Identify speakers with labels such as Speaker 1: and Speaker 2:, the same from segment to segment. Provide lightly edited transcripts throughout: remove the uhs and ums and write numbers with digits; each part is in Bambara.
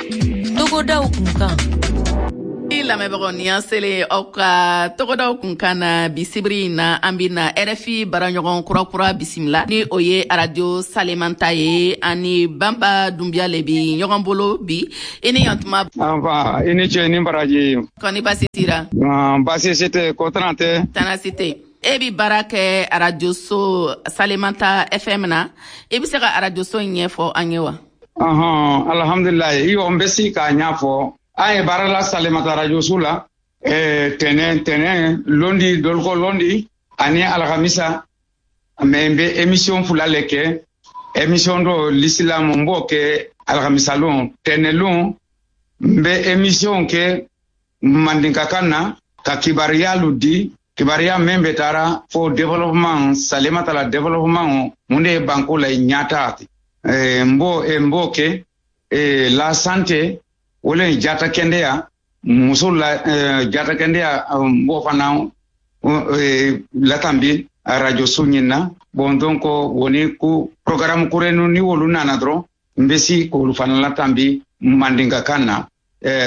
Speaker 1: Togodaw kunkan.
Speaker 2: Lamɛnbagaw, ni an selen aw ka togodaw kunkan na bi sibiri in na, an bɛna RFI baaraɲɔgɔn kurakura bisimila, ni o ye Arajo Salemanta ye. Ani Banba Dunbiya le bi ɲɔgɔn bolo bi. I ni yantuma.
Speaker 3: Anfa, i ni ce ni baraji.
Speaker 2: Kɔni basi tira?
Speaker 3: Basi si tɛ, ko tana tɛ.
Speaker 2: Tana si tɛ. E bi baara kɛ arajoso Salemanta FM na. I bɛ se ka arajoso in ɲɛfɔ an ye wa?
Speaker 3: Ɔhɔn, alhamdulilayi, iyo, n bɛ se k'a ɲɛfɔ. An ye baara la Salemata arajoso la tɛnɛ, londi, dolko londi ani alhamisa. Mais n bɛ émission fila le kɛ. Émission dɔ, l'islam, n b'o kɛ alhamisa lon. Tɛnɛ lon, n bɛ émission kɛ mandinkakan na ka kibaruyalu di, kibaruya min bɛ taara fo développement, Salemata la développement, mun de ye banko la ɲata. N b'o kɛ la santé, o le jata kɛnɛya, muso la jata kɛnɛya, n b'o fana latambi radio so ɲin na. Bon, donc woni ko programme kurenu ni wolu nana dɔrɔn, n bɛ si k'olu fana latambi mandinkakan na.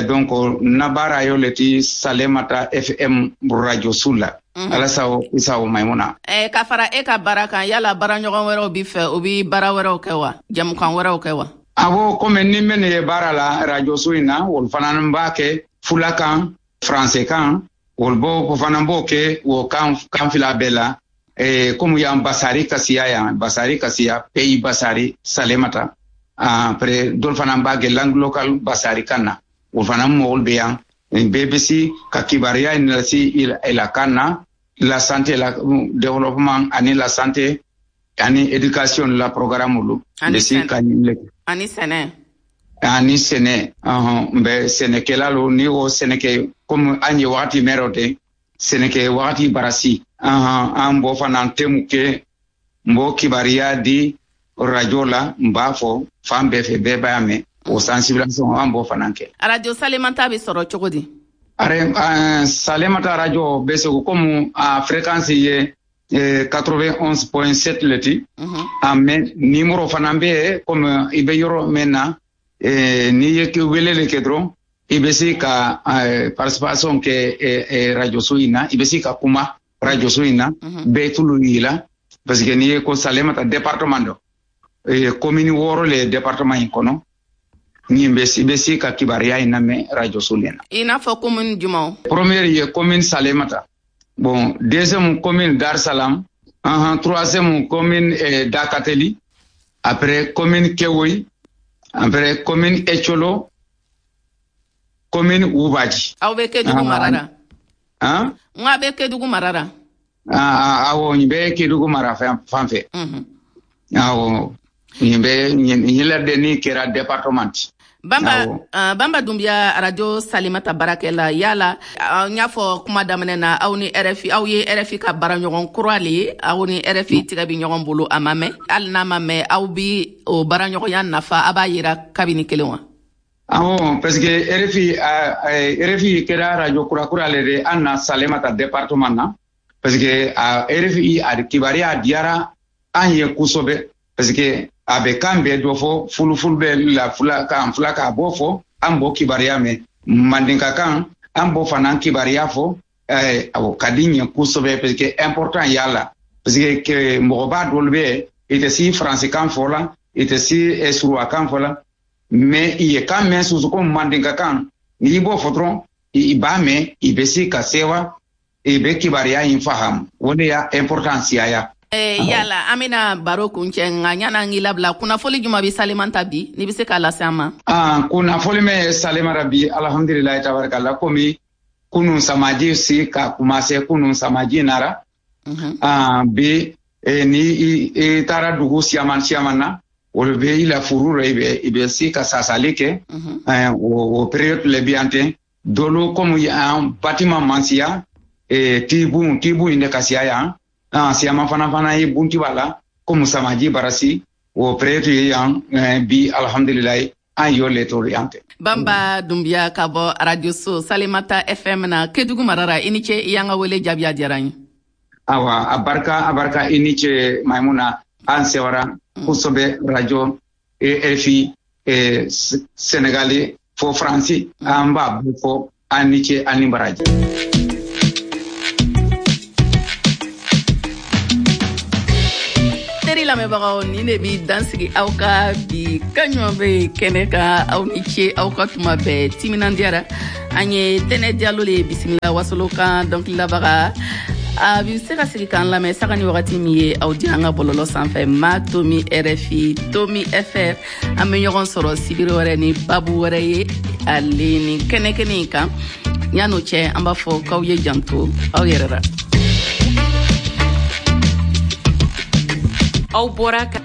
Speaker 3: Donc na baara yo le ti Salemata FM radio su la. Ala sago, i sago, Maimuna.
Speaker 2: Ka fara e ka baara kan, yala baaraɲɔgɔn wɛrɛw b'i fɛ, o bi baara wɛrɛw kɛ wa, jamukan wɛrɛw kɛ wa?
Speaker 3: Awɔ, komi ni minnu ye baara la radio so in na, olu fana b'a kɛ fulakan, français kan, olu b'o fana b'o kɛ o kan, kan fila bɛɛ la. Komi yan basari ka siya, yan basari ka siya, pays basari Salemata. Après, dɔw fana b'a kɛ langue locale basari kan na. O fana mɔgɔw bɛ yan, bɛɛ bɛ se ka kibaruya in lase i la kan na, la santé, la développement ani la santé ani éducation la programme olu.
Speaker 2: Ani
Speaker 3: bɛ se ka ɲini.
Speaker 2: Ani sɛnɛ.
Speaker 3: Ani sɛnɛ, ɔhɔn, n bɛ sɛnɛkɛla lo. Ni o sɛnɛkɛ, komi an ye wagati mɛn o tɛ sɛnɛkɛ wagati barasi, ɔhɔn, an b'o fana tɛmu kɛ, n b'o kibaruya di radio la, n b'a fɔ fan bɛɛ fɛ, bɛɛ b'a mɛn. O sensibilisation, an b'o fana kɛ.
Speaker 2: Arajo Salemanta bɛ sɔrɔ cogo di?
Speaker 3: Are, Salemata radio bɛ segu komi a fréquence ye 91.7 le ti. A mais numéro fana bɛ yen. Komi i bɛ yɔrɔ min na, n'i ye wele le kɛ dɔrɔn, i bɛ se ka participation kɛ radio so in na, i bɛ se ka kuma radio so in na, bɛɛ tulu y'i la, parce que n'i ye ko Salemata département dɔ, commune 6 le département in kɔnɔ, nin bɛ i bɛ se ka kibaruya in lamɛn radio so le na.
Speaker 2: I n'a fɔ commune jumɛnw?
Speaker 3: Première ye commune Salemata, bon, deuxième commune Dar Salam, troisième commune Dakateli, après commune Kewoy, après commune Echolo, commune Ubaji.
Speaker 2: Aw bɛ Kedugu mara la?
Speaker 3: Han?
Speaker 2: N ko a bɛ Kedugu mara la?
Speaker 3: Ah, awɔ, nin bɛ Kedugu mara fan fɛ. Awɔ, nin bɛ nin la de ni kɛra département ti.
Speaker 2: Bamba,
Speaker 3: Awɔ.
Speaker 2: Bamba Dunbiya, Arajo Salimata baarakɛla, yala n y'a fɔ kuma daminɛ na, aw ni RFI, aw ye RFI ka baaraɲɔgɔn kura le ye. Aw ni RFI tigɛ bi ɲɔgɔn bolo, a ma mɛn. Hali n'a ma mɛn, aw bi o baaraɲɔgɔnya nafa, a b'a yira kabini kelen wa?
Speaker 3: Awɔ, parce que RFI, RFI kɛra radio kura le de an na Salemata département na, parce que a RFI a kibaruya diyara an ye kosɛbɛ, parce que a bɛ kan bɛɛ dɔ fɔ, fulufulu bɛ la fula kan, fula k'a bɔ fɔ, an b'o kibaruya mɛn, mandinka kan an b'o fana kibaruya fɔ. Awɔ, ka di ɲɛ kosɛbɛ, parce que important y'a la, parce que mɔgɔba dɔw bɛ yen, i tɛ si faransikan fɔ la, i tɛ si suruwakan fɔ la, mais i ye kan mɛn soso ko mandinka kan, n'i b'o fɔ dɔrɔn, i b'a mɛn, i bɛ se ka sewa, i bɛ kibaruya in fahamu. O de y'a importance ya.
Speaker 2: Yala an bɛna baro kuncɛ, nka ɲana an k'i labila, kunnafoli juma bɛ Salemanta bi, n'i bɛ se k'a lase an ma?
Speaker 3: Ah, kunnafoli min ye Salemata bi, alhamdulilayi tabarikala, komi kunun samaji si ka commencer, kunun samaji nara. Ah, bi ni i taara dugu siaman siaman na, olu bɛ i la furu rɔ, i bɛ se ka sasali kɛ. O période le bi yan ten. Dolu komi an bâtiment man siya, tibu in de ka siya yan. Ah, siaman fana ye bunti b'a la, komi samaji barasi, o période ye yan bi, alhamdulilayi, an y'o le to yan tɛ.
Speaker 2: Bamba Dunbiya ka bɔ Radio So Salemata FM na Kedugu mara, i ni ce i y'an ka wele jaabi, a diyara n ye.
Speaker 3: Awa, a barika, a barika, i ni ce Maimuna, an sewara kosɛbɛ radio RFI Senegali. fo Faransi, an b'a bɛɛ fɔ an ni ce, an ni baraji.
Speaker 2: Teri lamɛnbagaw, nin de bi dansigi aw ka bi kaɲɔgɔn bɛ kɛnɛ kan. Aw ni ce aw ka tuma bɛɛ timinandiyara. An ye Tɛnɛ Jalo le bisimila, Wasolo kan dɔnkililabaga. A bi se ka sigi k'an lamɛn saga ni wagati min ye aw di an ka bɔlɔlɔ sanfɛ, ma tomi RFI tomi fr. An bɛ ɲɔgɔn sɔrɔ sibiri wɛrɛ ni babu wɛrɛ ye ale ni kɛnɛ kɛnɛ in kan. Yan'o cɛ, an b'a fɔ k'aw ye janto aw yɛrɛ la.
Speaker 1: Aw bɔra ka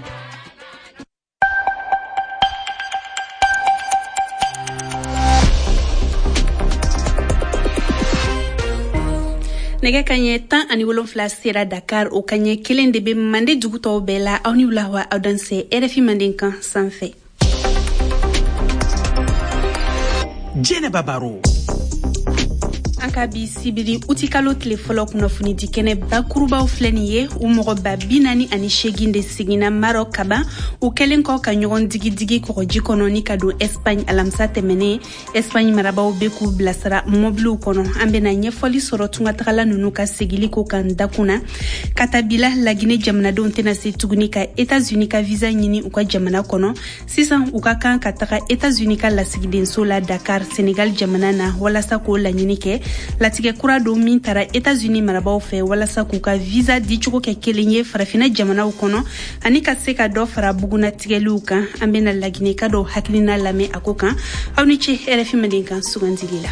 Speaker 4: Nɛgɛ kaɲɛ 17 sera Dakar, o kaɲɛ 1 de bɛ Mande dugu tɔw bɛɛ la. Aw ni wula wa, aw dansɛ RFI Mandenkan sanfɛ.
Speaker 5: Jɛnɛba Baro.
Speaker 4: An ka bi sibiri utikalo tile fɔlɔ kunnafoni di kɛnɛ bakurubaw filɛ nin ye. U mɔgɔ 48 de seginna Maroc kaban, u kɛlen kɔ ka ɲɔgɔn digidigi kɔgɔji kɔnɔ ni ka don Espagne alamisa tɛmɛnen. Espagne marabaw bɛ k'u bilasira mɔbiliw kɔnɔ. An bɛna ɲɛfɔli sɔrɔ tungatagala ninnu ka segili ko kan dakun na. Ka tabila Lagine jamanadenw tɛna se tuguni ka Etats-Unis ka visa ɲini u ka jamana kɔnɔ. Sisan u ka kan ka taga Etats-Unis ka lasigidenso la Dakar, Senegal jamana na, walasa k'o laɲini kɛ. Latigɛ kura don min tara Etats-Unis marabaw fɛ walasa k'u ka visa dicogo kɛ kelen ye farafina jamanaw kɔnɔ ani ka se ka dɔ fara bugunatigɛliw kan. An bena Lagineka dɔw hakilina lamɛn a ko kan. Aw ni ce RFI Mandenkan sugandili la.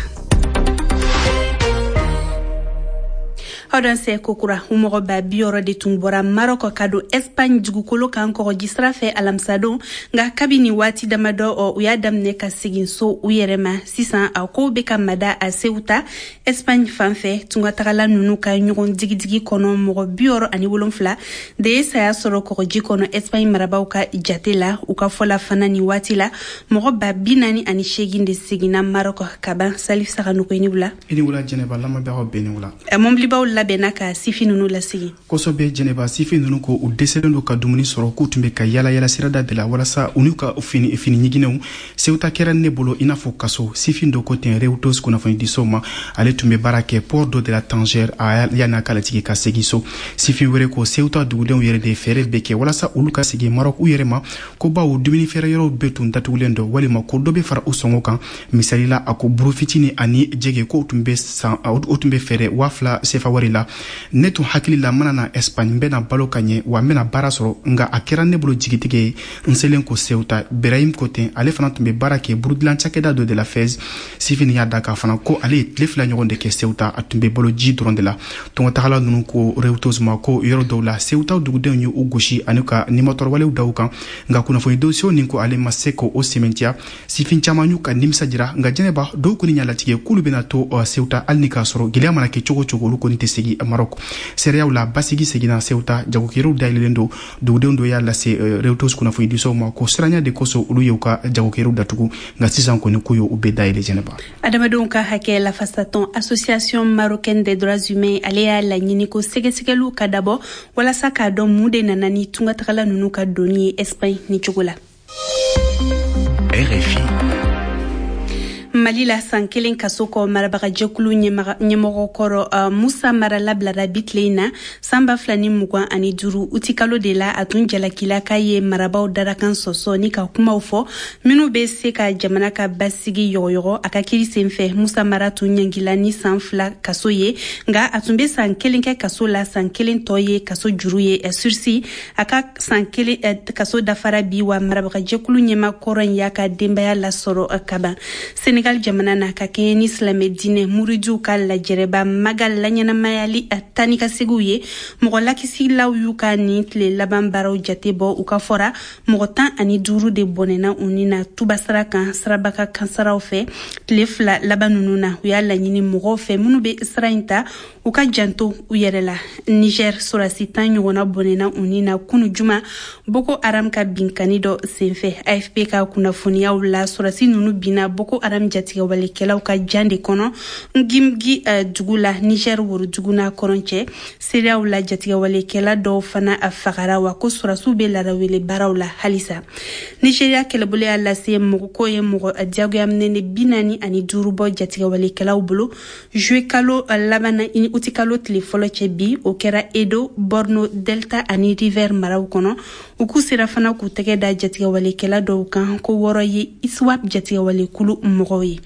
Speaker 4: Aw dansɛ kokura. U mɔgɔ 60 de tun bɔra Marɔkɔ ka don Espagne dugukolo kan kɔgɔji sira fɛ alamisadon, nka kabini waati damadɔ ɔ u y'a daminɛ ka segin so u yɛrɛ ma. Sisan a kow bɛ ka mada a Ceuta, Espagne fan fɛ. Tungatagala ninnu ka ɲɔgɔn digidigi kɔnɔ, mɔgɔ 67 de ye saya sɔrɔ kɔgɔji kɔnɔ Espagne marabaw ka jate la. U ka fɔ la fana, nin waati la, mɔgɔ 48 de seginna Marɔkɔ kaban. Salif Saganuko, i ni wula.
Speaker 6: I ni wula Jɛnɛba, lamɛnbagaw bɛɛ ni wula.
Speaker 4: Mɔbilibaw labɛnna ka sifin ninnu lasegin.
Speaker 6: Kosɛbɛ Jɛnɛba, sifin ninnu ko u dɛsɛlen don ka dumuni sɔrɔ, k'u tun bɛ ka yala yala sirada de la walasa u n'u ka fini fini ɲiginɛw. Ceuta kɛra ne bolo i n'a fɔ kaso, sifin dɔ ko ten Reuters kunnafonidisow ma. Ale tun bɛ baara kɛ port dɔ de la Tanger a yanni a ka latigi ka segin so. Sifin wɛrɛ ko Ceuta dugudenw yɛrɛ de fɛɛrɛ bɛɛ kɛ walasa olu ka segin Maroc u yɛrɛ ma, ko bawo dumuni feere yɔrɔw bɛɛ tun datugulen don walima ko dɔ bɛ fara u sɔngɔ kan. Misali la, a ko buru fitini ani jɛgɛ ko tun bɛ san, o tun bɛ feere 2000 sefa wari la. Ne tun hakili la mana na Espagne, n bɛna balo ka ɲɛ wa n bɛna baara sɔrɔ, nka a kɛra ne bolo jigitigɛ ye n selen ko Ceuta, Berahim ko ten. Ale fana tun bɛ baara kɛ burudilan cakɛda dɔ de la Fez. Sifini y'a da k'a fana ko ale ye tile 2 ɲɔgɔn de kɛ Ceuta, a tun bɛ balo ji dɔrɔn de la. Tɔngɔtagala ninnu ko Reuters ma ko yɔrɔ dɔw la, Ceuta dugudenw ye u gosi ani ka nimatɔrɔwalew da u kan, nka kunnafoni dossier nin ko ale ma se k'o sɛmɛntiya. Sifin caman y'u ka nimisa jira, nka Jɛnɛba, dɔw kɔni y'a latigɛ k'olu bɛna to Ceuta hali ni k'a sɔrɔ gɛlɛya mana kɛ cogo cogo, olu kɔni tɛ segin Maroc. Seereyaw la, basigi seginna Ceuta, jagokɛyɔrɔw dayɛlɛlen don. Dugudenw dɔ y'a lase Reuters kunnafonidisow ma ko siranya de kosɔn olu y'u ka jagokɛyɔrɔw datugu, nka sisan kɔni k'u y'u bɛɛ dayɛlɛ, Jɛnɛba.
Speaker 4: Adamadenw ka hakɛ lafasatɔn Association marocaine des droits humains, ale y'a laɲini ko sɛgɛsɛgɛliw ka dabɔ walasa k'a dɔn mun de nana ni tungatagala ninnu ka donni ye Espagne ni cogo la.
Speaker 5: RFI.
Speaker 4: Mali la, san 1 kaso kɔ, marabagajɛkulu ɲɛmɔgɔ kɔrɔ Musa Mara labilara bi tile in na. San 2025 utikalo de la, a tun jalakila k'a ye marabaw darakan sɔsɔ ni ka kumaw fɔ minnu bɛ se ka jamana ka basigi yɔgɔyɔgɔ. A ka kiri sen fɛ, Musa Mara tun ɲangila ni san 2 kaso ye, nka a tun bɛ san 1 kɛ kaso la, san 1 tɔ ye kaso juru ye, sursis. A ka san 1 kaso dafara bi wa marabagajɛkulu ɲɛma kɔrɔ in y'a ka denbaya lasɔrɔ kaban. Senegal jamana na, ka kɛɲɛ ni silamɛ diinɛ muridiw ka lajɛrɛba Magal laɲɛnamayali tani ka segiw ye, mɔgɔ lakisilaw y'u ka nin tile laban baaraw jate bɔ. U ka fɔra, mɔgɔ 15 de bɔnɛna u ni na tuba sira kan sirabaka kansaraw fɛ tile 2 laban ninnu na. U y'a laɲini mɔgɔw fɛ minnu bɛ sira in ta, u ka janto u yɛrɛ la. Niger, sɔrɔdasi 10 ɲɔgɔnna bɔnɛna u ni na kunu juma Boko Haram ka binkani dɔ senfɛ. AFP ka kunnafoniyaw la, sɔrɔdasi ninnu binna Boko Haram Jatigɛwalekɛlaw ka jan de kɔnɔ Ngimgi dugu la, Niger worodugu n'a kɔrɔn cɛ. Seereyaw la, jatigɛwalekɛla dɔw fana a fagara, wa ko sɔrɔdasiw bɛ larawele baaraw la halisa. Nigeria kɛlɛbolo y'a lase mɔgɔ ko ye mɔgɔ diyagoyaminɛnen 45 bɔ jatigɛwalekɛlaw bolo juillet kalo laban na ni uti kalo tile fɔlɔ cɛ bi. O kɛra Edo, Borno, Delta ani River maraw kɔnɔ. U k'u sera fana k'u tɛgɛ da jatigɛwalekɛla dɔw kan ko 6 ye ISWAP jatigɛwalekulu mɔgɔw ye.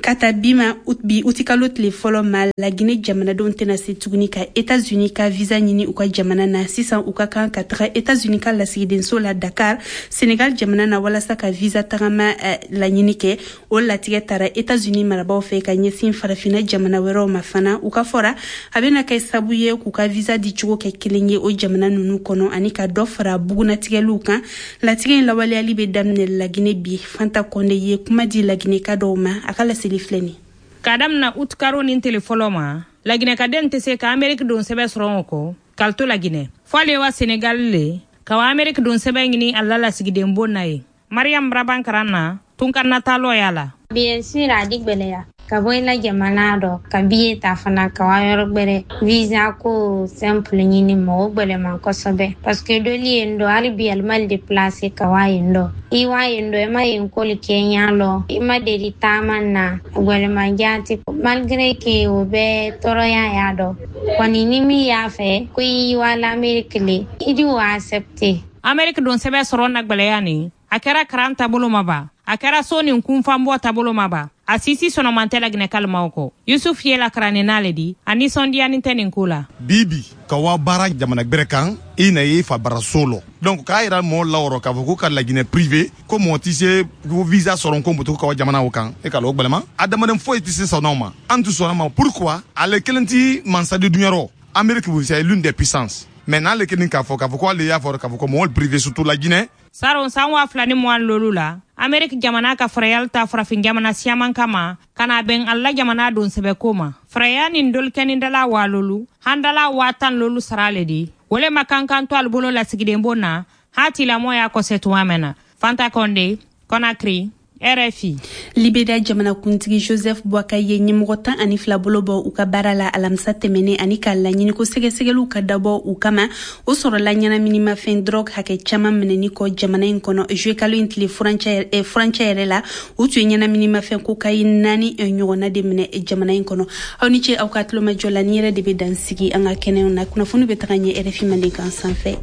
Speaker 4: Ka ta bi ma, bi utikalo tile fɔlɔ ma, Lagine jamanadenw tɛna se tuguni ka États-Unis ka visa ɲini u ka jamana na. Sisan u ka kan ka taga États-Unis ka lasigidenso la Dakar, Sénégal jamana na, walasa ka visa tagama laɲini kɛ. O latigɛ tara États-Unis marabaw fɛ ka ɲɛsin farafinna jamana wɛrɛw ma fana. U ka fɔra, a bɛna kɛ sabu ye k'u ka visa di cogo kɛ kelen ye o jamana ninnu kɔnɔ, ani ka dɔ fara bugunatigɛliw kan. Latigɛ in lawaleyali bɛ daminɛ Lagine bi. Fanta Kɔnde ye kuma di Lagineka dɔw ma, a ka laseli filɛ nin.
Speaker 7: K'a damina utikaro nin tele fɔlɔ ma, Laginɛkaden tɛ se ka Ameriki don sɛbɛn sɔrɔ o kɔ k'ale to Laginɛ, fo ale wa Senegal le ka wa Ameriki don sɛbɛn ɲini a la lasigiden bon na ye. Mariam Raban karan na tunkan natalɔ y'a la.
Speaker 8: Bien sûr, a di gwɛlɛya ka bɔ i la jamana dɔ ka billet ta fana ka wa yɔrɔ gwɛrɛ, visa ko simple ɲini mɔgɔ gwɛlɛman kosɛbɛ, parce que doli yen dɔ hali bi alimali déplacer ka wa yen dɔ, i wa yen dɔ, i ma yen koli kɛ ɲa lɔ, i ma deli taama na, gwɛlɛman jaati, malgré que o bɛ tɔɔrɔya y'a dɔ kɔni. Ni min y'a fɛ ko i wa l'Amérique le, i di o accepter.
Speaker 7: Ameriki don sɛbɛn sɔrɔ na gwɛlɛya nin, a kɛra karan taabolo ma ba, a kɛra so nin kunfanbɔ taabolo ma ba, a sisi sɔnɔman tɛ Laginɛ kalimaw kɔ. Yusuf ye la karanni n'ale di, a nisɔndiyani tɛ nin ko la.
Speaker 9: Bibi ka wa baara jamana gbɛrɛ kan, i na ye fa baraso lɔ, donc k'a yira mɔɔ lawɔrɔ k'a fɔ ko ka Laginɛ privé ko mɔɔ tɛ se ko visa sɔrɔ ko moto ka wa jamana o kan, e ka lɔ gwɛlɛma. Adamaden foyi tɛ se sɔnna o ma, an tɛ sɔnna ma. Pourquoi? Ale kelen ti mansa di duɲɛ rɔ. Amérique, c'est l'une des puissances, mais n'ale kelen k'a fɔ ko ale y'a fɔ k'a fɔ ko mɔgɔ privé, surtout la Guinée.
Speaker 7: Saron san 2020 la, Ameriki jamana ka farayali ta farafin jamana siyaman kama ka na bɛn alla jamana don sɛbɛko ma. Faraya nin dolikɛnidala waa lolu handala 10 000 lolu sara le di wole ma kankan to ali bolo lasigiden bon na hatilamɔ y'a kɔsɛ tuma mɛn na. Fanta Kɔnde, Conakry, RFI.
Speaker 4: Liberia jamanakuntigi Joseph Boakai ye ɲɛmɔgɔ 12 bolo bɔ u ka baara la alamisa tɛmɛnen, ani k'a laɲini ko sɛgɛsɛgɛliw ka dabɔ u kama. O sɔrɔla ɲɛnaminimafɛn drogue hakɛ caman minɛni kɔ jamana in kɔnɔ juillet kalo in tile furancɛ yɛrɛ la. U tun ye ɲɛnaminimafɛn cocaïne 4 ɲɔgɔnna de minɛ jamana in kɔnɔ. Aw ni ce aw ka tulomajɔ la. Ni yɛrɛ de bɛ dan sigi an ka kɛnɛw na. Kunnafoni bɛ taga ɲɛ RFI Mandenkan sanfɛ.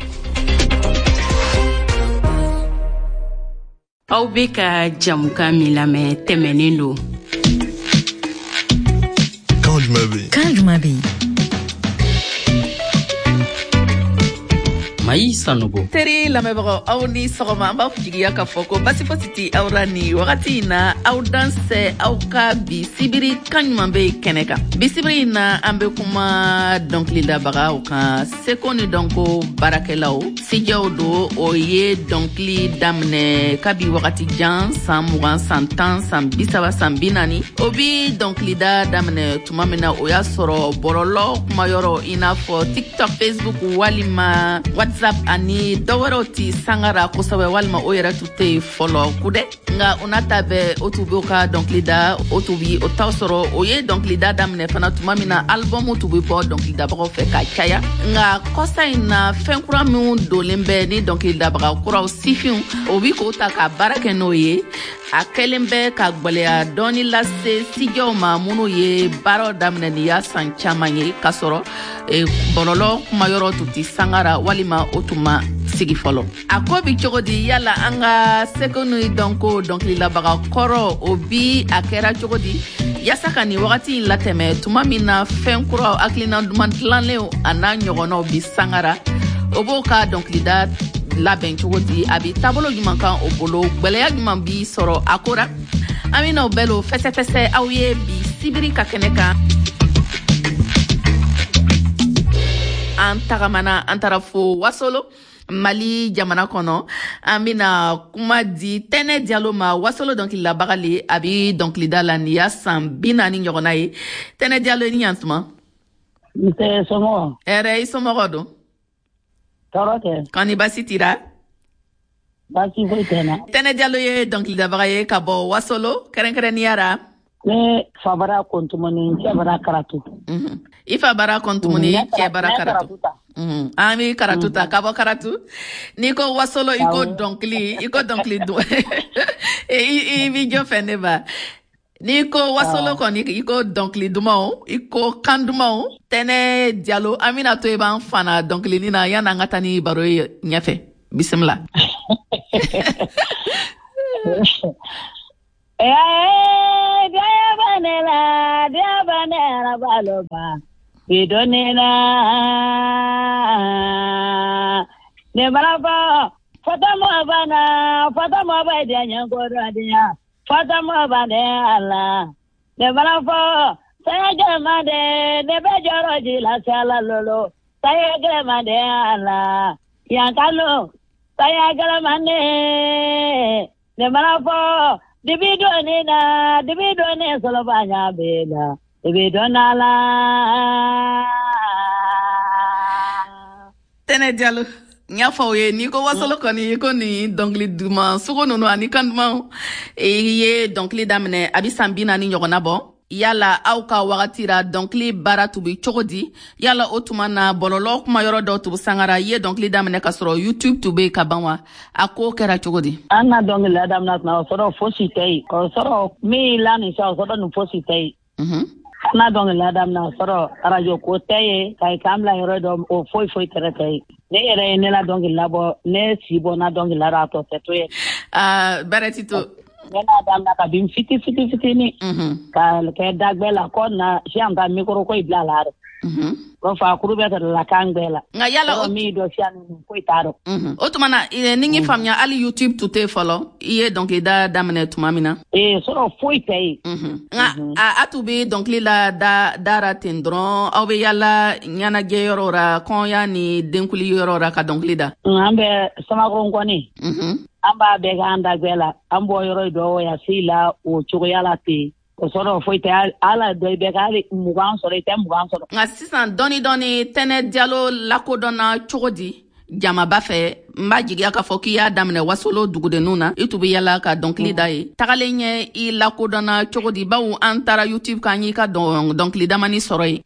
Speaker 10: Aw bɛ ka jamukan min lamɛn, tɛmɛnen don.
Speaker 11: Kan jumɛn bɛ yen?
Speaker 1: Kan jumɛn bɛ yen?
Speaker 12: Mayi Sanogo.
Speaker 2: Teri lamɛnbagaw, aw ni sɔgɔma. An b'a jigiya k'a fɔ ko basi fosi ti aw ra nin wagati in na. Aw dansɛ aw ka bi sibiri kan ɲuman bɛ kɛnɛ kan. Bi sibiri in na, an bɛ kuma dɔnkilidabagaw kan, seko ni dɔnko baarakɛlaw, sijɛw do. O ye dɔnkili daminɛ kabi wagati jan, san 20, san 10, san 30, san 40. O bi dɔnkilida daminɛ tuma min na, o y'a sɔrɔ bɔlɔlɔ kumayɔrɔ i n'a fɔ TikTok, Facebook walima WhatsApp ani dɔwɛrɛw ti sangara kosɛbɛ, walima o yɛrɛ tun tɛ yen fɔlɔ kudɛ. Nka o n'a ta bɛɛ, o tun b'o ka dɔnkili da, o tun bi o taw sɔrɔ. O ye dɔnkilida daminɛ fana tuma min na, albɔmu tun bɛ bɔ dɔnkilidabagaw fɛ ka caya. Nka kɔsa in na, fɛn kura minw donlen bɛ ni dɔnkilidabaga kuraw, sifinw, o bi k'o ta ka baara kɛ n'o ye, a kɛlen bɛ ka gwɛlɛya dɔɔni lase sijɛw ma minnu ye baaraw daminɛ nin y'a san caman ye, k'a sɔrɔ bɔlɔlɔ kumayɔrɔ tun ti sangara walima o tun ma sigi fɔlɔ. A ko bi cogo di? Yala an ka seko ni dɔnko dɔnkililabaga kɔrɔ, o bi a kɛra cogo di yaasa ka nin wagati in latɛmɛ, tuma min na fɛn kuraw, hakilina duman dilanlenw a n'a ɲɔgɔnnaw bi sangara? O b'o ka dɔnkilida labɛn cogo di? A bi taabolo ɲuman kan o bolo? Gwɛlɛya ɲuman bi sɔrɔ a ko ra? An bɛna o bɛɛ lo fɛsɛfɛsɛ aw ye bi sibiri ka kɛnɛ kan. An tagamana, an taara fo Wasolo, Mali jamana kɔnɔ. An bena kuma di Tɛnɛ Jalo ma, Wasolo dɔnkililabaga le. A bi dɔnkilida la nin y'a san 40 ɲɔgɔnna ye. Tɛnɛ Jalo, i ni ɲantuma.
Speaker 13: Nse, somɔgɔw?
Speaker 2: Hɛrɛ, i somɔgɔw don?
Speaker 13: Tɔɔrɔ tɛ.
Speaker 2: Kɔni basi tira?
Speaker 12: Baasi foyi tɛ n na.
Speaker 2: Tɛnɛ Jalo ye dɔnkilidabaga ye ka bɔ Wasolo, kɛrɛnkɛrɛnnenya ra.
Speaker 12: Ne fa bara Kɔntumani, n cɛ bara Karatu.
Speaker 2: I fa bara Kɔntumani, cɛ bara Karatu. An bɛ Karatu ta ka bɔ Karatu. N'i ko Wasolo, i ko dɔnkili, i ko dɔnkili dun. I b'i jɔ fɛ ne ba. N'i ko Wasolo kɔni, i ko dɔnkili dumanw, i ko kan dumanw. Tɛnɛ Jalo, an bɛna to i b'an fana dɔnkilinin na yanni an ka taa ni baro ye ɲɛfɛ. Bisimila.
Speaker 12: Ne balaba fatama bana fatama ba de nyangoradia fatama bana ala ne balaba saya jamade ne be joro jila sala lolo saya jamade ala yankalo saya jamade ne balaba dibido ne na dibido ne solo banya bela dibido na la.
Speaker 2: Tɛnɛ Jalo, n y'a fɔ aw ye, n'i ko Wasolo kɔni, i ko nin dɔnkili duman sugu ninnu ani kan dumanw. I ye dɔnkili daminɛ a bɛ san 40 ɲɔgɔnna bɔ. Yala aw ka wagati ra dɔnkili baara tun bɛ cogo di? Yala o tuma na bɔlɔlɔ kuma yɔrɔ dɔw tun bɛ sangara, i ye dɔnkili daminɛ ka sɔrɔ YouTube tun bɛ yen ka ban wa? A ko kɛra cogo di?
Speaker 12: An ka dɔnkili daminɛ tuma o sɔrɔ fosi tɛ yen. O sɔrɔ min la nin sa o sɔrɔ nin fosi tɛ yen. An ka dɔnkili daminɛ o sɔrɔ arajo ko tɛ yen, ka i kan bila yɔrɔ dɔ o foyi foyi tɛrɛ tɛ yen. Ne yɛrɛ ye ne la dɔnkili labɔ, ne si bɔ na dɔnkili la a tɔ tɛ to yen.
Speaker 2: Bɛrɛ ti to.
Speaker 12: Ne n'a daminɛ ka bin fiti fiti fitinin. Ka kɛ dagbɛ la kɔ na siyan ka mikoro ko i bila la dɛ. O fa kuru bɛ sɔrɔ la kan gbɛ la.
Speaker 2: Nka yala o
Speaker 12: min dɔ siyan ninnu foyi t'a dɔn.
Speaker 2: O tuma na ni n y'i faamuya, hali YouTube tun tɛ fɔlɔ, i ye dɔnkilida daminɛ tuma min na.
Speaker 12: Ee sɔrɔ foyi tɛ yen.
Speaker 2: Nka a tun bɛ dɔnkili la dara ten dɔrɔn, aw bɛ yala ɲɛnajɛ yɔrɔ la, kɔnya ni denkuli yɔrɔ la ka dɔnkili da.
Speaker 12: An bɛ Samakɔrɔ kɔni. An b'a bɛɛ k'an dagbɛ la, an bɔ yɔrɔ dɔ ya si la o cogoya la ten. O sɔrɔ foyi tɛ ala dɔ i bɛ k'ale 20 sɔrɔ, i tɛ 20 sɔrɔ.
Speaker 2: Nka sisan dɔɔni dɔɔni Tɛnɛ Jalo lakodɔnna cogo di jamaba fɛ? N b'a jigiya k'a fɔ k'i y'a daminɛ Wasolo dugudenninw na, i tun bɛ yala ka dɔnkili da ye. Tagalen ɲɛ i lakodɔnna cogo di? Bawo an taara YouTube kan y'i ka dɔnkili damani sɔrɔ yen.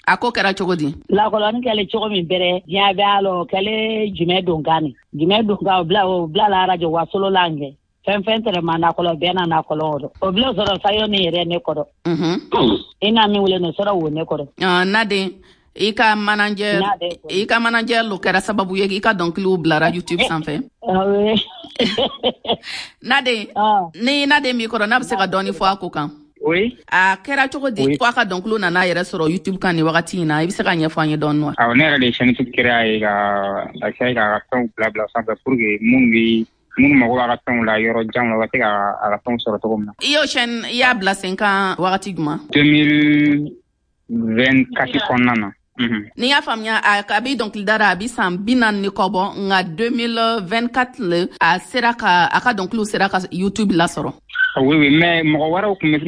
Speaker 2: A ko kɛra cogo di?
Speaker 12: Lakodɔnni kɛlen cogo min bɛrɛ, diɲɛ bɛ a la, o kɛlen jumɛn donkan ni? Jumɛn donkan o bila la arajo Wasolo la nkɛ. Fɛn fɛn tɛrɛ ma nakɔlɔ bɛɛ na nakɔlɔ o dɔ. O bila sɔrɔ sayo ni yɛrɛ ne kɔrɔ. I n'a min wele no sɔrɔ wo ne kɔrɔ.
Speaker 2: Naden, i ka manager, i ka manager lo kɛra sababu ye i ka dɔnkiliw bilara YouTube sanfɛ. Naden, ni Naden b'i kɔrɔ, n'a bɛ se ka dɔɔni fɔ a ko kan.
Speaker 3: Oui.
Speaker 2: A kɛra cogo di ko a ka dɔnkiliw nana yɛrɛ sɔrɔ YouTube kan nin wagati in na? I bɛ se ka ɲɛfɔ an ye dɔɔni wa?
Speaker 3: Awɔ, ne yɛrɛ de ye chaîne YouTube créer ye ka essayer k'a ka fɛnw bila sanfɛ pour que minnu mago b'a ka fɛnw la yɔrɔ jan la, u ka se ka a ka fɛnw sɔrɔ cogo min na.
Speaker 2: I y'o chaîne, i y'a bila sen kan wagati jumɛn?
Speaker 3: 2024 kɔnɔna na.
Speaker 2: N'i y'a faamuya, a bɛ dɔnkilida la a bɛ san 40 ni kɔ bɔ, nka 2024 le a sera ka a ka dɔnkiliw sera ka YouTube lasɔrɔ.
Speaker 3: Oui, mais mɔgɔ wɛrɛw tun bɛ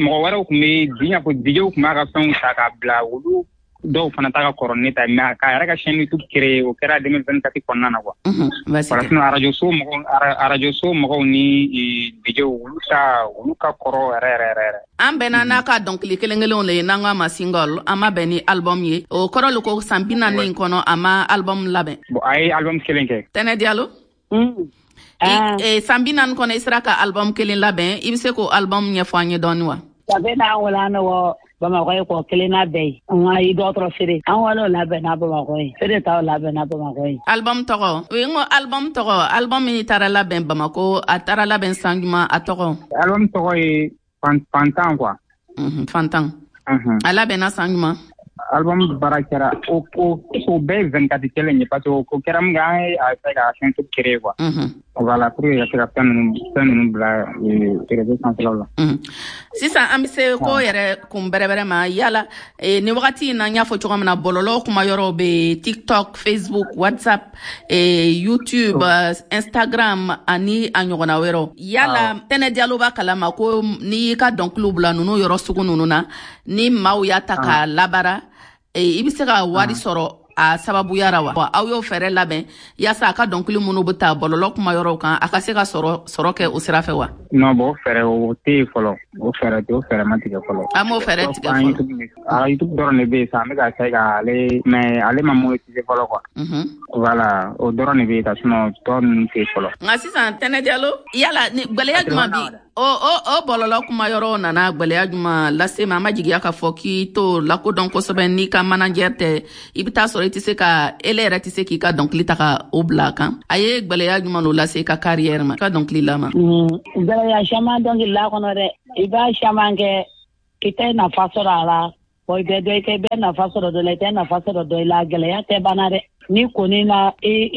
Speaker 3: diɲɛ ko DJw tun b'a ka fɛnw ta k'a bila, olu dɔw fana ta ka kɔrɔ ne ta, mais k'a yɛrɛ ka chaîne YouTube créer o kɛra 2024 kɔnɔna na quoi. Voilà, sinon arajo so mɔgɔw ni DJw olu ta olu ka kɔrɔ yɛrɛ yɛrɛ yɛrɛ.
Speaker 2: An bɛnna n'a ka dɔnkili kelen kelenw le ye, n'an k'a ma single, an ma bɛn ni album ye. O kɔrɔ le ko san 40 in kɔnɔ a ma album labɛn.
Speaker 3: Bon, a ye album kelen kɛ.
Speaker 2: Tɛnɛ Jalo. San 40 kɔnɔ i sera ka album kelen labɛn, i bɛ se k'o album ɲɛfɔ an ye dɔɔni wa?
Speaker 12: Sabe n'an wolo an wɔ Bamakɔ ye kɔ kelen na bɛɛ ye. An ka i dɔgɔtɔrɔ feere. An wolo labɛnna Bamakɔ ye. Feere t'aw labɛnna Bamakɔ ye.
Speaker 2: Album tɔgɔ? O ye n ko album tɔgɔ. Album min taara labɛn Bamakɔ, a taara labɛn san jumɛn, a tɔgɔ?
Speaker 3: Album tɔgɔ ye Fantan quoi.
Speaker 2: Fantan. A labɛnna san jumɛn?
Speaker 3: Album baara kɛra o bɛɛ ye 24 kelen ye, parce que o kɛra min kɛ, an ye a essayer ka chaîne YouTube créer quoi. Voilà, pour que ka se ka fɛn ninnu bila réseau sanfɛlaw la.
Speaker 2: Sisan an bɛ se ko yɛrɛ kun bɛrɛbɛrɛ ma. Yala nin wagati in na, n y'a fɔ cogo min na, bɔlɔlɔ kuma yɔrɔw bɛ TikTok, Facebook, WhatsApp, YouTube, Instagram ani a ɲɔgɔnna wɛrɛw. Yala Tɛnɛ Jalo b'a kalama ko n'i y'i ka dɔnkiliw bila ninnu yɔrɔ sugu ninnu na, ni maaw y'a ta k'a labara, i bɛ se ka wari sɔrɔ a sababuya ra wa? Aw y'o fɛɛrɛ labɛn yaasa a ka dɔnkili minnu bɛ taa bɔlɔlɔ kuma yɔrɔw kan, a ka se ka sɔrɔ kɛ o sira fɛ wa?
Speaker 13: Non, bon, o fɛɛrɛ o tɛ yen fɔlɔ. O fɛɛrɛ tɛ, o fɛɛrɛ ma tigɛ fɔlɔ.
Speaker 2: An m'o fɛɛrɛ tigɛ fɔlɔ.
Speaker 13: A YouTube dɔrɔn de bɛ yen sisan, an bɛ ka essayer k'ale, mais ale ma monétiser fɔlɔ quoi. Voilà, o dɔrɔn de bɛ yen ka, sinon tɔ ninnu tɛ yen fɔlɔ.
Speaker 2: Nka sisan, Tɛnɛ Jalo, yala ni gwɛlɛya jumɛn bi o bɔlɔlɔ kuma yɔrɔw nana gwɛlɛya jumɛn lase ma? An ma jigiya k'a fɔ k'i t'o lakodɔn kosɛbɛ n'i ka manager tɛ. I bɛ taa sɔrɔ i tɛ se ka, ele yɛrɛ tɛ se k'i ka dɔnkili ta ka o bila a kan. A ye gwɛlɛya jumɛn lo lase i ka carrière ma, i ka dɔnkili la ma?
Speaker 12: Gwɛlɛya caman dɔnkili la kɔnɔ dɛ. I b'a caman kɛ, i tɛ nafa sɔrɔ a la. Bon, i bɛ dɔ i kɛ, i bɛ nafa sɔrɔ dɔ la, i tɛ nafa sɔrɔ dɔ la. Gɛlɛya tɛ banna dɛ. Ni kɔni na i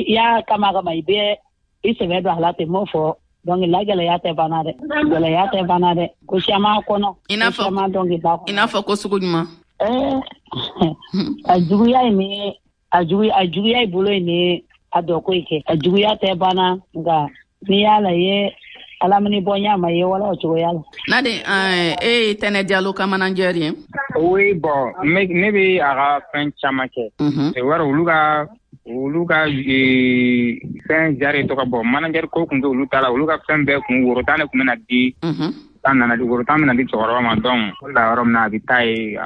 Speaker 12: y'a kama i bɛ i sɛbɛ don a la ten, m'o fɔ. Donc la gɛlɛya tɛ banna dɛ, gɛlɛya tɛ banna dɛ, ko caman kɔnɔ.
Speaker 2: I n'a fɔ
Speaker 12: caman dɔnkili la kɔnɔ.
Speaker 2: I n'a fɔ ko sugu ɲuman?
Speaker 12: A juguya ye ni a juguya, a juguya i bolo ye ni a dɔ ko kɛ, a juguya tɛ banna. Nka n'i y'a la ye alamini bɔ ɲa ma ye wala o cogoya la.
Speaker 2: Nade, e ye Tɛnɛ Jalo ka manager ye?
Speaker 13: Oui, bon, ne bɛ a ka fɛn caman kɛ. Wari olu ka fɛn jari tɔgɔ bɔ, manager ko kun tɛ olu ta la. Olu ka fɛn bɛɛ kun woro tan de kun bɛna di. Tan nana di, woro tan bɛna di cɛkɔrɔba ma. Donc o la yɔrɔ min na a bɛ taa ye,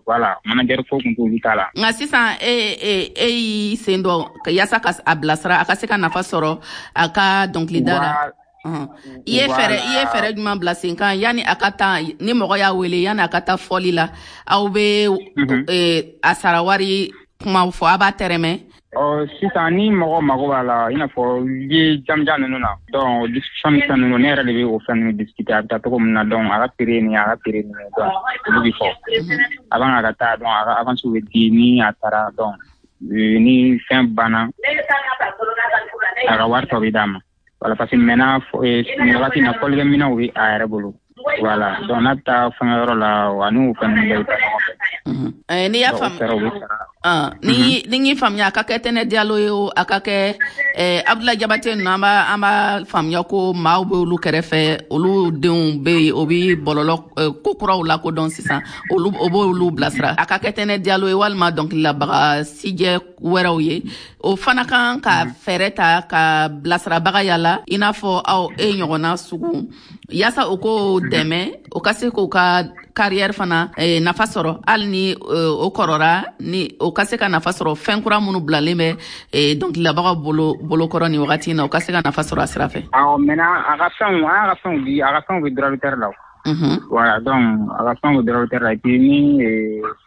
Speaker 13: voilà, manager ko kun t'olu ta la.
Speaker 2: Nka sisan e y'i sen dɔ yaasa ka a bilasira, a ka se ka nafa sɔrɔ a ka dɔnkilida la. I ye fɛɛrɛ jumɛn bila sen kan yanni a ka taa, ni mɔgɔ y'a wele, yanni a ka taa fɔli la, aw bɛ a sara wari kuma fɔ, a b'a tɛrɛmɛ?
Speaker 13: Ɔ, sisan ni mɔgɔ mago b'a la, i n'a fɔ lieu jamujan ninnu na, donc o discussion ni fɛn ninnu, ne yɛrɛ de bɛ o fɛn ninnu discuter, a bɛ taa cogo min na. Donc a ka prix nin, a ka prix nin, donc olu bɛ fɔ avant a ka taa. Donc a ka avance bɛ di ni a taara. Donc ni fɛn banna, a ka wari tɔ bɛ d'a ma. Voilà, parce que maintenant nin wagati in na, fɔlikɛminɛnw bɛ a yɛrɛ bolo. Voilà, donc n'a bɛ taa fɛnkɛyɔrɔ la, a n'o fɛn ninnu bɛɛ bɛ taa ɲɔgɔn fɛ.
Speaker 2: N'i y'a
Speaker 13: Donc, o
Speaker 2: faamu
Speaker 13: fɛɛrɛw bɛ sara.
Speaker 2: Ni y'i faamuya, a ka kɛ Tɛnɛ Jalo ye o, a ka kɛ Abdoulaye Jabate ninnu, an b'a faamuya ko maaw bɛ olu kɛrɛfɛ, olu denw bɛ yen, o bɛ bɔlɔlɔ ko kuraw lakodɔn sisan, olu o b'olu bilasira. A ka kɛ Tɛnɛ Jalo ye walima dɔnkililabaga sijɛ wɛrɛw ye, o fana kan ka fɛɛrɛ ta ka bilasirabaga yala i n'a fɔ aw e ɲɔgɔnna sugu, yaasa o k'o dɛmɛ, o ka se k'o ka carrière fana nafa sɔrɔ, hali ni o kɔrɔra, ni o ka se ka nafa sɔrɔ fɛn kura minnu bilalen bɛ dɔnkililabagaw bolo bolokɔrɔ nin wagati in na, o ka se ka nafa sɔrɔ a sira fɛ.
Speaker 13: Awɔ, maintenant a ka fɛnw, an y'a ka fɛnw di, a ka fɛnw bɛ droit d'auteur la o. Voilà, donc a ka fɛnw bɛ droit d'auteur la, et puis ni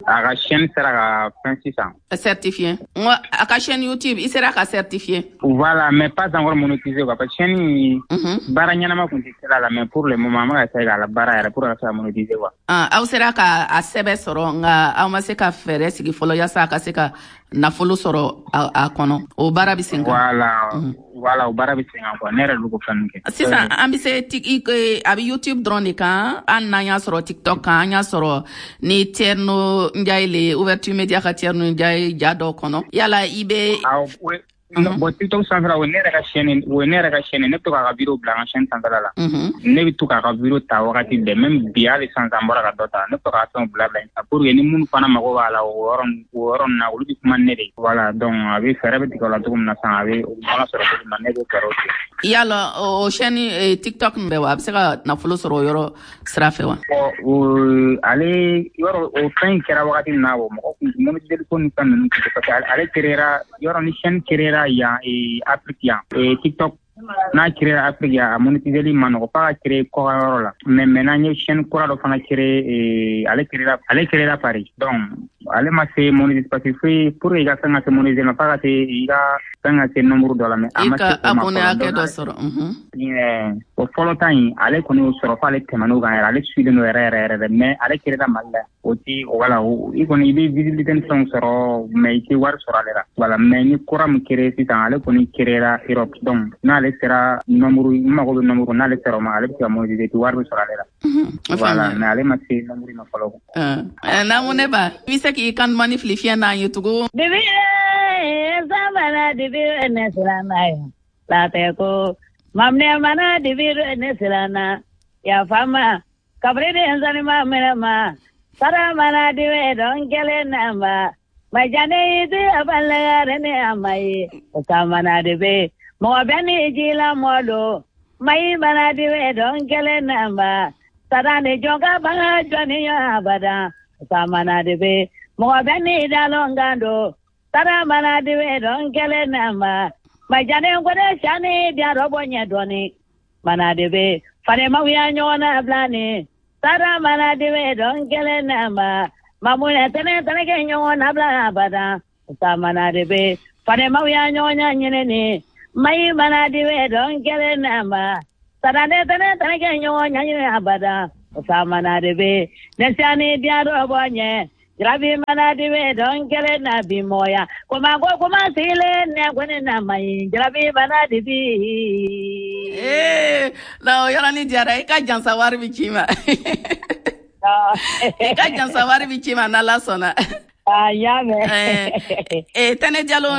Speaker 13: a ka chaîne sera ka fɛn sisan.
Speaker 2: Certifié, n ko a ka chaîne YouTube, i sera ka certifié?
Speaker 13: Voilà, mais pas encore monétisé quoi, parce que chaîne in, baara ɲɛnama kun tɛ kɛla la, mais pour le moment an bɛ ka essayer k'a la baara yɛrɛ pour que a ka se ka monétiser quoi.
Speaker 2: Ah, aw sera ka a sɛbɛ sɔrɔ, nka aw ma se ka fɛɛrɛ sigi fɔlɔ yaasa a ka se ka nafolo sɔrɔ a kɔnɔ. O baara bɛ sen kan?
Speaker 13: Voilà, o baara bɛ sen kan quoi, ne yɛrɛ de bɛ k'o fɛn ninnu kɛ.
Speaker 2: Sisan an bɛ se a bɛ YouTube dɔrɔn de kan? Hali n'an y'a sɔrɔ TikTok kan, an y'a sɔrɔ ni Thierno Ndiaye le, Ouverture Média ka Thierno Ndiaye ja dɔ kɔnɔ, yala i bɛ?
Speaker 13: Awɔ, non, bon, TikTok sanfɛla, o ye ne yɛrɛ ka chaîne, o ye ne yɛrɛ ka chaîne. Ne bɛ to k'a ka vidéo bila an ka chaîne sanfɛla la. Ne bɛ to k'a ka vidéo ta wagati bɛɛ, même bi, hali sisan n bɔra ka dɔ ta. Ne bɛ to k'a fɛnw bila bila yen pour que ni minnu fana mago b'a la o yɔrɔ ninnu na, olu bɛ kuma ni ne de ye. Voilà, donc a bɛ fɛɛrɛ bɛ tigɛ o la cogo min na sisan, a bɛ o bɛ ɲɔgɔn sɔrɔ cogo min na, ne b'o fɛɛrɛw tigɛ.
Speaker 2: Yala o chaîne TikTok nin bɛ wa, a bɛ se ka nafolo sɔrɔ o yɔrɔ sira fɛ wa?
Speaker 13: Bon, o ale yɔrɔ, o fɛn in kɛra wagati min na, o mɔgɔ kun monétiseli ko ni fɛn ninnu tun tɛ, parce que ale créera yɔrɔ, ni chaîne créera yan Afrique yan, TikTok n'a créera Afrique yan, a monétiseli ma nɔgɔ f'a ka créer kɔkan yɔrɔ la. Mais maintenant n ye chaîne kura dɔ fana créer, ale créera Paris. Donc ale ma se monétiser, parce que foyi pour que i ka fɛn ka se monétiser ma, f'a ka se i ka fɛn ka se nombre dɔ la, mais a
Speaker 2: I
Speaker 13: ma se
Speaker 2: ka
Speaker 13: o ma
Speaker 2: abonné
Speaker 13: fɔlɔ.
Speaker 2: hakɛ
Speaker 13: Donc
Speaker 2: dɔ sɔrɔ.
Speaker 13: O fɔlɔ ta in, ale kɔni y'o sɔrɔ f'ale tɛmɛn'o kan yɛrɛ, ale suilen don yɛrɛ yɛrɛ yɛrɛ dɛ. Mais ale créera Mali la, o ti o, voilà, i kɔni i bɛ visibilité ni fɛnw sɔrɔ, mais i tɛ wari sɔrɔ ale la. Voilà, mais ni kura min créé sisan, ale kɔni créera Europe. Donc n'ale sera nombre, n mago bɛ nombre, n'ale sera o ma, ale bɛ se ka monétiser, wari bɛ sɔrɔ ale la.
Speaker 2: O
Speaker 13: Voilà.
Speaker 2: faamuya.
Speaker 13: Mais ale ma se nombre ma fɔlɔ.
Speaker 2: Namunɛ ba, i bɛ se k'i kan dumani fili fiɲɛ n'an ye tugun?
Speaker 12: Dibi samana dibi ne silana yo latɛ ko mamne mana dibi ne silana ya fama kabri de nzani ma mene ma sara mana dibi don kele na ma. Majane di abalare ne amai samana de be mo bani jila molo mai bana di we don kele namba sarane jonga ba joni abada samana de be mo bani dalongando saramana di we don kele namba majane ngore shani dia robonya doni mana de be fare mawya nyona blani saramana di we don kele namba mamuna tene tene ke nyona bla abada samana de be fare mawya nyona nyene mai mana di we don kele namba sarane tene tene ke nyona nyene abada samana de be nesani dia robonye Grabi mana di we don kele na bi moya kuma ko kuma sile ne kwene na mai grabi mana di bi
Speaker 2: na yɔrɔ ni diyara i ka jansa wari bi ci ma i ka jansa wari bi ci ma n'Ala sɔnna.
Speaker 12: Y'a mɛn.
Speaker 2: Tɛnɛ Jalo,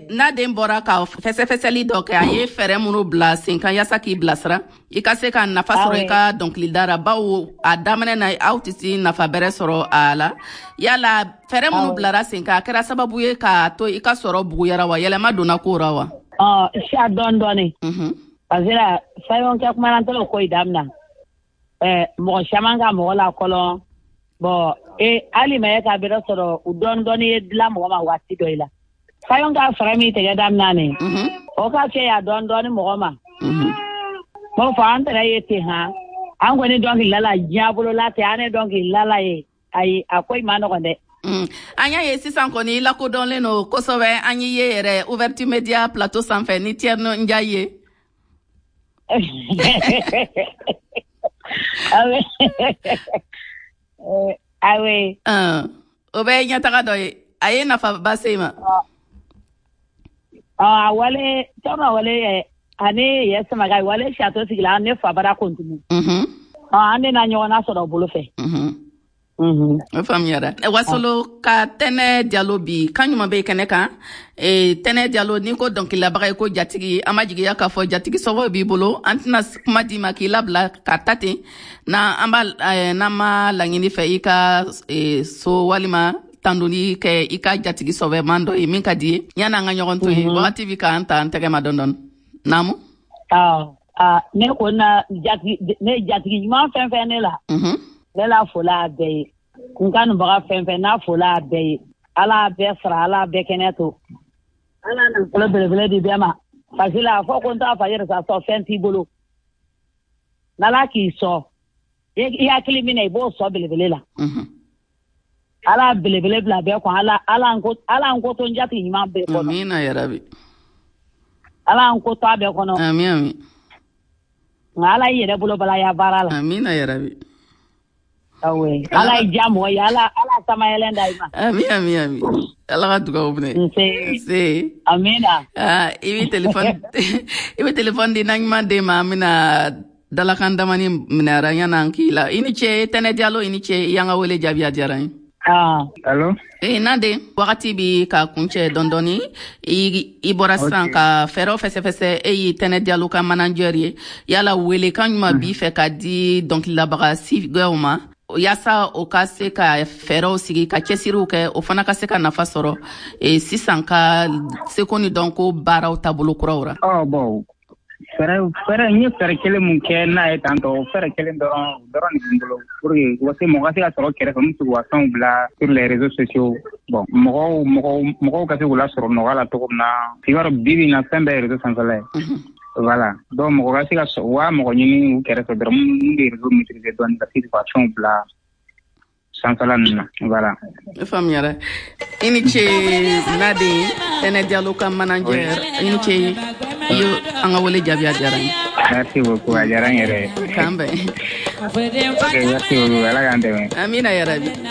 Speaker 2: n'a den bɔra ka fɛsɛfɛsɛli dɔ kɛ, a ye fɛɛrɛ minnu bila sen kan yaasa k'i bilasira i ka se ka nafa sɔrɔ i ka dɔnkilida la, bawo a daminɛ na aw tɛ se nafa bɛrɛ sɔrɔ a la. Yala fɛɛrɛ minnu bilara sen kan, a kɛra sababu ye k'a to i ka sɔrɔ buguyara wa, yɛlɛma donna ko ra wa?
Speaker 12: Siya dɔɔni dɔɔni. Parce que la fɛn kɛ kuma na ko i daminɛ mɔgɔ caman ka mɔgɔ la kɔlɔn. Bon, hali ma ye ka bɛrɛ sɔrɔ u dɔɔni dɔɔni ye dilan mɔgɔ ma waati dɔ i la. Fayɔn ka fɛɛrɛ min tigɛ daminɛ nin, o ka kɛ ya dɔɔni dɔɔni mɔgɔ ma. M'o fɔ an tɛrɛ ye ten han, an kɔni dɔnkilila la diɲɛ bolola tɛ, an ye dɔnkilila la ye, ayi a ko in ma nɔgɔn dɛ.
Speaker 2: An y'a ye sisan kɔni i lakodɔnlen don kosɛbɛ, an y'i ye yɛrɛ Ouverture Media plateau sanfɛ ni Thierno Ndiaye ye.
Speaker 12: Awe.
Speaker 2: O bɛ ye ɲɛtaga dɔ ye, a ye nafaba se i ma.
Speaker 12: A wale tɔnɔ wale ani yɛ samaga wale sato sigila ne fa bara kontunu. An de na ɲɔgɔn na sɔrɔ o bolo fɛ.
Speaker 2: O faamuyara. Wasolo ka Tɛnɛ Jalo bi kan ɲuman bɛ kɛnɛ kan. Tɛnɛ Jalo, n'i ko dɔnkililabaga ye ko jatigi, an ma jigiya k'a fɔ jatigi sɔgɔ b'i bolo. An tɛna kuma d'i ma k'i labila ka ta ten, n'an b'a n'an ma laɲini fɛ i ka so walima tandoni kɛ i ka jatigi sɔbɛman dɔ ye min ka di ye. Yanni an ka ɲɔgɔn to yen, wagati bi k'an ta an tɛgɛ ma dɔɔni dɔɔni. Naamu.
Speaker 12: Ne ko na ne jatigi ɲuman fɛn fɛn ne la. Ne la fola a bɛɛ ye, n kanubaga fɛn fɛn n'a fola a bɛɛ ye, Ala bɛɛ sara, Ala bɛɛ kɛnɛ to, Ala nafolo belebele di bɛɛ ma. Parce que la fɔ ko n t'a fa yɛrɛ sa sɔn fɛn t'i bolo, n'Ala k'i sɔn i hakili min na i b'o sɔn belebele la. Ala belebele bila bɛɛ kɔn, Ala n ko to n jatigi ɲuman bɛɛ kɔnɔ.
Speaker 2: Amina yarabi.
Speaker 12: Ala n ko to a bɛɛ kɔnɔ.
Speaker 2: Ami ami.
Speaker 12: Nka Ala y'i yɛrɛ bolo bala ya baara la.
Speaker 2: Amina yarabi.
Speaker 12: Ala ye diya mɔgɔ ye, Ala sama yɛlɛn da i ma.
Speaker 2: Ami ami ami. Ala ka dugawu minɛ. Nse.
Speaker 12: Amina.
Speaker 2: I bɛ telefɔni i bɛ telefɔni di naɲuman den ma, an bɛna dalakan damani minɛ yan'an k'i la. I ni ce Tɛnɛ Jalo, i ni ce i y'an ka wele jaabi, a diyara n ye.
Speaker 13: Allo.
Speaker 2: Nande, wagati bi ka kuncɛ dɔɔni dɔɔni, i bɔra sisan ka fɛɛrɛw fɛsɛfɛsɛ, e y'i Tɛnɛ Jalo ka manager ye. Yala welekan ɲuman b'i fɛ ka di dɔnkililabaga sigɛw ma yaasa o ka se ka fɛɛrɛw sigi ka cɛsiriw kɛ, o fana ka se ka nafa sɔrɔ sisan ka seko ni dɔnko baaraw taabolo kuraw ra?
Speaker 13: Bon, fɛɛrɛ n ye fɛɛrɛ kelen mun kɛ n'a ye tantɔ, o fɛɛrɛ kelen dɔrɔn de bɛ n bolo pour que u ka se mɔgɔ ka se ka sɔrɔ kɛrɛfɛ min bɛ se k'u ka fɛnw bila sur les réseaux sociaux. Bon, mɔgɔw ka se k'u lasɔrɔ nɔgɔya la cogo min na. I b'a dɔn bi bi in na fɛn bɛɛ ye réseau sanfɛla ye. Voilà, donc mɔgɔ ka se ka u ka mɔgɔ ɲini u kɛrɛfɛ dɔrɔn minnu bɛ réseau maîtriser dɔɔni ka se k'u ka fɛnw bila sanfɛla ninnu na. Voilà.
Speaker 2: Ne faamuyara. I ni ce Nade, Tɛnɛ Jalo ka manager, i ni ce i ye an ka wele jaabi, a diyara n ye.
Speaker 13: Merci beaucoup, a diyara n yɛrɛ ye.
Speaker 2: K'an bɛn.
Speaker 13: Ok, merci beaucoup, Ala k'an dɛmɛ.
Speaker 2: Amina yarabi.